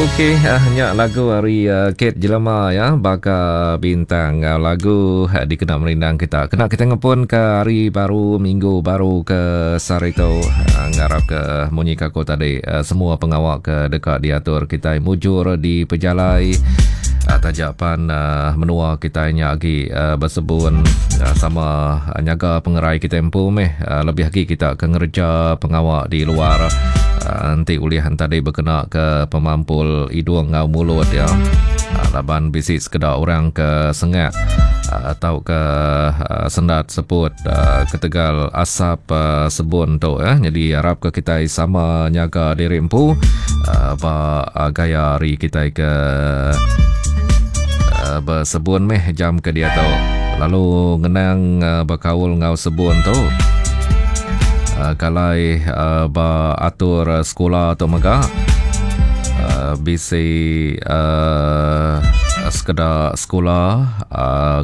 Okey, uh, nya lagu ari uh, Kate Jelema ya, baka bintang uh, lagu uh, dikena merindang kita. Kena kita ngepun ke hari baru, minggu baru ke sehari tu. Uh, ngarap ke munyi ke aku tadi uh, semua pengawa ke deka diatur kita mujur di pejalai uh, taja pan uh, menua kita nya agi uh, bersebun uh, sama uh, nyaga pengerai kita empu meh uh, lebih agi kita ke ngereja pengawa di luar. Enti ulih entadi bekena ke pemampul idung enggau mulut iya. Laban bisi sekeda orang ke sengak tauka sendat seput ketegal asap sebun tu. Nyadi arapka kitai sama nyaga diri empu ba gaya hari kitai ke besebun meh jam ke diatu. Lalu ngenang bekaul enggau sebun tu. Kalai ba atur sekula tu mega bisi sekeda sekula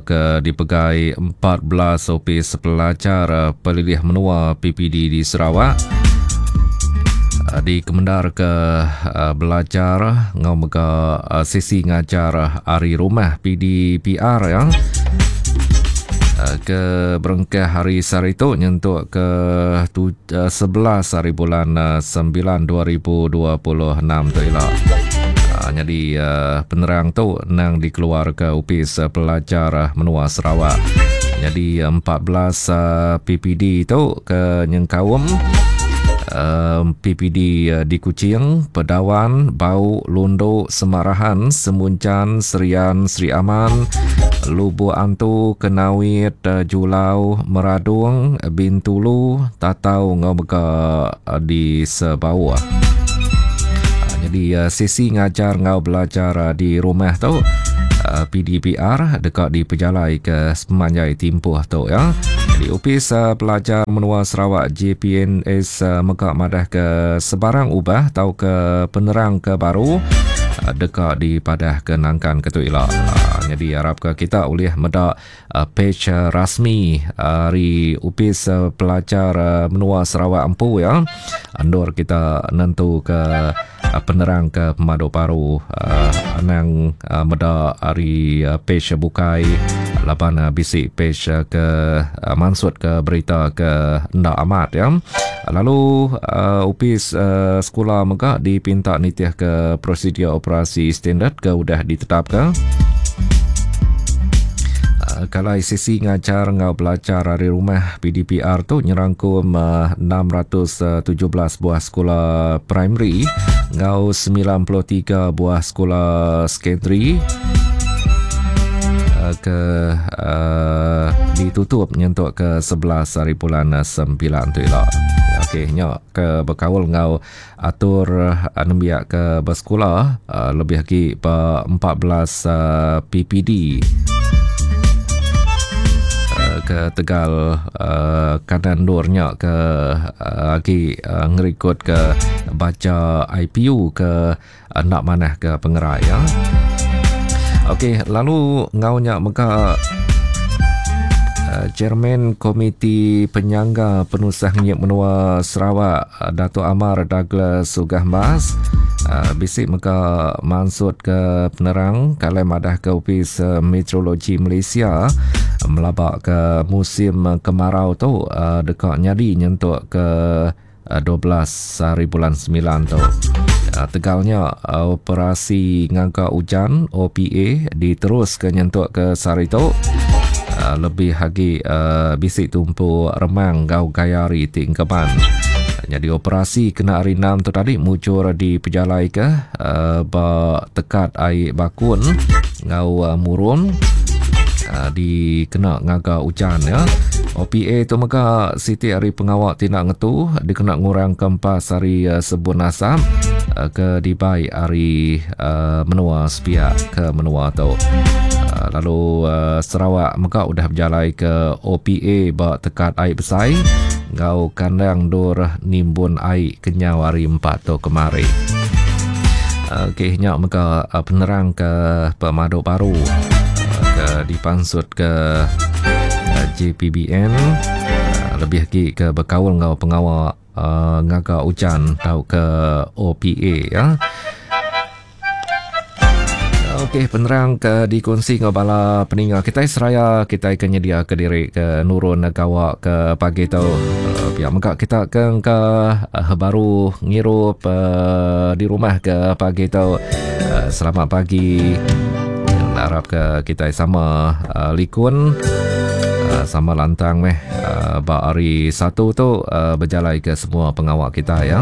ke dipegai 14 Opis Pelajar Pelilih Menua PPD di Sarawak dikemendarka belajar enggau mega sesi ngajar ari rumah PDPR ya. Ke berengkah hari sehari tu nyentuk ke 11 hari bulan 9 2026 tu ila. Nyadi penerang tu nang dikeluarka Opis Pelajar Menua Sarawak. Nyadi 14 PPD tu ke nyengkaum PPD di Kuching, Pedawan, Bau, Lundu, Semarahan, Semunjan, Serian, Sri Aman, Lubuk Antu, Kenawit, Julau, Meradong, Bintulu, Tatau enggau mega di Sebauh. Nyadi sesi ngajar enggau belajar di rumah tu PDPR deka dipejalaika sepemanjai timpuh tu ya. Jadi Opis Pelajar Menua Sarawak JPNS mega madahka sebarang ubah tauka penerang ke baru deka dipadahka nangkan ke tu ila. Nyadi arapka kita ulih meda page rasmi ari Opis Pelajar Menua Sarawak empu ya. Endur kita nentuka penerang ke pemadu baru anang meda ari page bukai laban bisi page ke mansut ke berita ke enda amat ya. Lalu opis sekula mega dipinta nitih ke prosedur operasi standard ke udah ditetapka. Kalai sesi ngajar enggau belajar ari rumah PDPR tu nyerangkum 617 buah sekula primary enggau 93 buah sekula sekondari ke uh, ditutup nyentuk ke 11 hari bulan 9 tu ila. Okey, nya ke bekaul enggau atur nembiak ke besekula lebih agi ba 14 PPD ke tegal kanan endur nya ke agi ngerikod ke bacha IPU ke enda manah ke pengerai ya. Okey, lalu enggau nya mega Chairman Komiti Penyangga Penusah Ngenyit Menua Sarawak Datuk Amar Douglas Uggah Mas bisi mega mansutka penerang kalai madahka Opis Meteorologi Malaysia melabaka musim kemarau tu deka nyadi nyentuk ke 12 hari bulan 9 tu. Tegal nya operasi ngaga ujan OPA diteruska nyentuk ke sehari tu lebih agi bisi tumpu remang enggau gaya hari ti engkeman. Nyadi operasi kena hari 6 tu tadi mujur dipejalaika ba tekat ai Bakun enggau Murum dikena ngaga ujan ya. OPA tu mega siti ari pengawa ti enda ngetu dikena ngurangka empas ari sebun asap ke dibai ari menua sepiak ke menua tu. Lalu Sarawak mega udah bejalaika OPA ba tekat ai besai enggau kandang endur nimbun ai kenyau hari empat tu kemari. Okey nya mega penerang ke pemadu baru ke dipansut ke JPBN lebih agi ke bekaul enggau pengawa ngaga ujan tauka OPA ya. Okey, penerang ke dikunsi enggau bala peninga kitai seraya kitai ke nyediaka diri ke nurun gawa ke pagi tu. Uh, pia mega kita ke engka uh, baru ngirup uh, di rumah ke pagi tu. Uh, selamat pagi. Harap ke kitai sama uh, likun uh, sama lantang meh uh, ba hari satu tu uh, bejalai ke semua pengawa kita ya.